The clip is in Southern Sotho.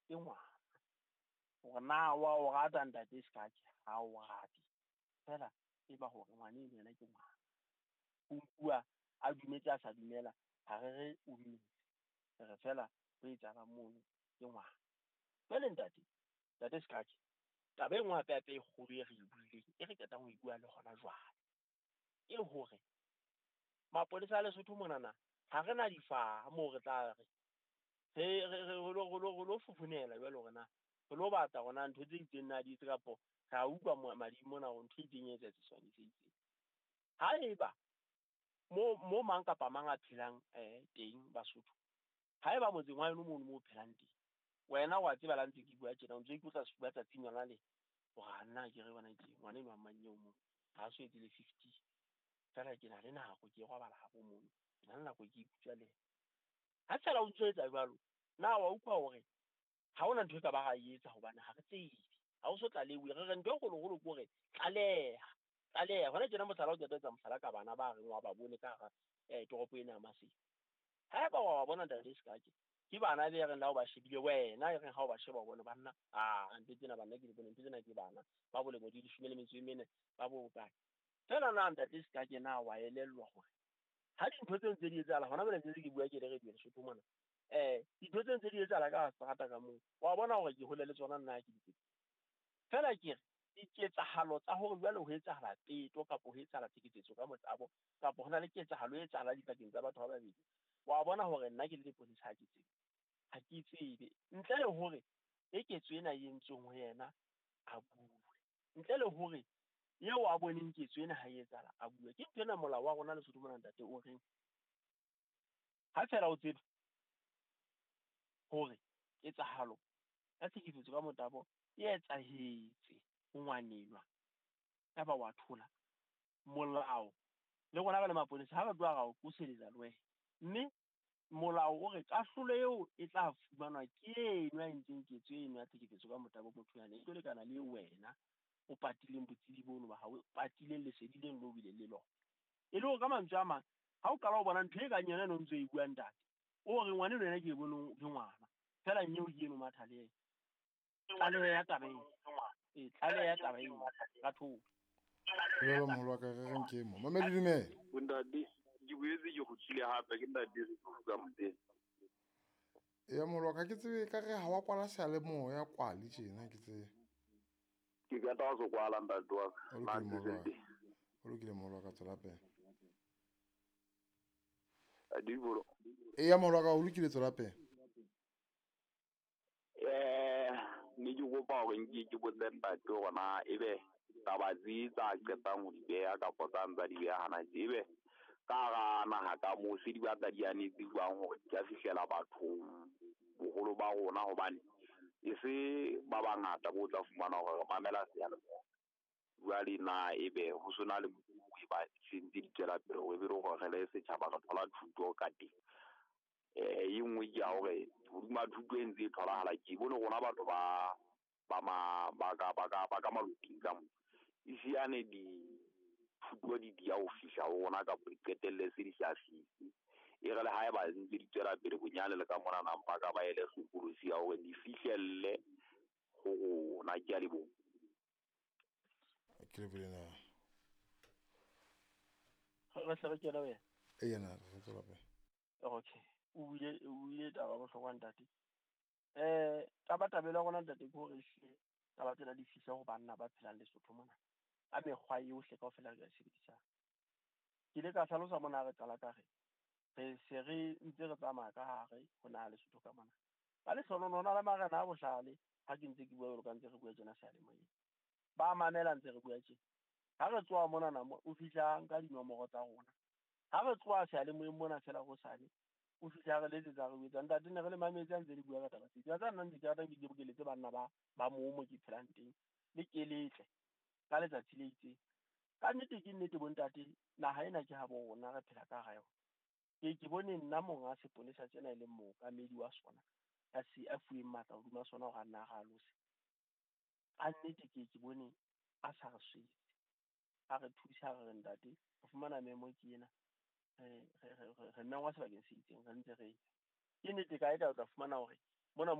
Ke ngwana. Hore na wa o rata ntate Sekake, ha o rate. Feela tseba hore ngwana eno yena ke ngwana. O nkuwa a dumetse a sa dumela, ha re re o dumetse. Re re feela ho etsahalang mono ke ngwana. Jwale ntate, ntate Sekake, taba e nngwe hape hape e kgolo e re e buileng, e re qetang ho e bua le hona jwale, ke hore mapolesa a Lesotho monana ha re na difaha moo re tla re re lo fofonela jwale hore na re lo batla hore na ntho tse itseng na di etse kapo re a utlwa mading mona hore ntho e itseng e etsahetse sebakeng se itseng. Haeba mo mang kapa mang a phelang teng Basotho, haeba motseng wa heno mono mo o phelang teng, wena wa tseba la ntse ke bua tjena, o ntso ikotla sefuba tsatsing lona le hore a nna ke re bona ke ngwana enwa mang eo mo ha so etse le 50, feela ke na le nako ke robala habo mono, ke na le nako ke ikutswa le yena. Ha feela o ntso etsa jwalo, na wa utlwa hore ha hona ntho e ka ba ra e etsa hobane ha re tsebe, ha o so tlalewe. Re re ntho e kgolokgolo ke hore tlaleha, tlaleha. Hona tjena mohlala o qeta ho etsa mohlala ka bana ba reng wa ba bone ka hara toropo ena ya Maseru. Haeba wa ba bona ntate Sekake, ke bana be reng la o ba shebile wena, e reng ha o ba sheba o bone banna, ah ntho tsena banna ke di bone, ntho tsena ke bana ba bolemo di 14, ba bo kae. Feela na ntate Sekake na wa elellwa hore ha dintho tseo ntse di etsahala hona jwale, ntse ke bua ke le radio Lesotho mona, dintho tseo ntse di etsahala ka seterata ka moo, wa bona hore ke hole le tsona nna ke di tsebe. Feela ke re diketsahalo tsa hore jwale ho etsahala peto kapo ho etsahala tlhekefetso ka motabo, kapo ho na le ketsahalo e etsahalang dipakeng tsa batho ba babedi, wa bona hore nna ke le leponesa ha ke tsebe, ha ke tsebe ntle le hore e ketso ena e entsweng ho yena a bue, ntle le hore eo a boneng ketso ena ha e etsahala a bue. Ke ntho ena molao wa rona Lesotho mona ntate o reng ha feela o tseba hore ketsahalo ya tlhekefetso ka motabo e etsahetse ho ngwanenwa, yaba wa thola, molao le rona re le maponesa ha re tloha ra o qoseletsa le wena, mme molao o re kahlolo eo e tla fumanwa ke eno a entseng ketso eno ya tlhekefetso ka motabo motho yane, e tlo lekana le wena o patileng botsebi bono ba hao, o patileng lesedi leno leo o bileng le lona. E le hore ka mantswe a mang, ha o qala ho bona ntho e kang yona eno o ntso e bua ntate, o re ngwana eno yena ke e boneng ke ngwana, feela nyeo ke eno matha le yena. Tlaleho ya taba eno. Tlaleho ya taba eno ka thoko. Dumela moholo wa ka, re reng ke mo. Mamedi dumela. Ntate, ke boetse ke kgutlile hape, ke ntate re ka motseng. Ya moholo wa ka, ke tsebe ka re ha wa kwala seyalemoya kwale tjena, ke tsebe. Ke qeta ho se kwala ntate wa ka. O lokile moholo wa ka. O lokile moholo wa ka, tswela pele. Adibolo. Eya moholo wa ka, o lokile, tswela pele. Ne ke kopa hore nke ke botse ntate hore na ebe taba tse tsa qetang ho di beha kapa tsa ntsa di beha hana tje, ebe ka hara naha ka moo se di batla di anetse jwang hore di ka fihlela bathong boholo ba rona, hobane e se ba bangata bo tla fumana hore re mamela seyalemoya. Jwale na ebe ho sona le mokgwa e ba sentse di tswela pele hore ebe le hore re le setjhaba re thola thuto ka teng. E nngwe ke ya hore hodima thuto e ntse e tholahala, ke bone rona batho ba ba ma ba ka ba ka ba ka maloping ka mo e siane dithuto di dia ho fihla ho rona kapa di qetelle se di sa fihle. E re le ha eba ntse di tswela pele bonyane le ka mona na mpa ka ba ele hlokolosi ya hore di fihlelle ho rona. Ke a leboha. Ke lebohile na. Re hle re kene wena. Eya na, re tswela pele. Okay. O buile taba bohlokwa ntate. Tabatabelo ya rona ntate ke hore ehlile taba tsena di fihle ho banna ba phelang Lesotho mona ka mekgwa yohle kaofela re ka e sebedisang. Ke ile ka hlalosa mona re qala ka re re se re ntse re tsamaya ka hare ho naha Lesotho ka mona. Ka lehlohonolo ho na le marena a bohlale, ha ke ntse ke bua jwalo ka ntse re bua tjena seyalemoyeng. Ba mamela ntse re bua tjena. Ha re tloha monana mo, o fihla nka dinomoro tsa rona. Ha re tloha seyalemoyeng mona feela hosane, o fihla re letsetsa re botsa ntate ne re le mametse a ntse le bua ka taba tse. Tsa nna ntse ke ratang ke bokeletse banna ba moo mo ke phelang teng, le keletle ka letsatsi le itseng. Ka nnete ke nnete bontate, naha ena ke habo rona, re phela ka hara yona. Ke bone nna monga sepolesa tsena e leng mookamedi wa sona, a se a fuweng matla hodima sona hore a nna a alose. Ka nnete ke bone a sa re swetse, a re thusa, re re ntate re fumana memo ke ena, re mengwa sebakeng se itseng, re ntse re ya. Ke nnete kae kae o tla fumana hore mona mo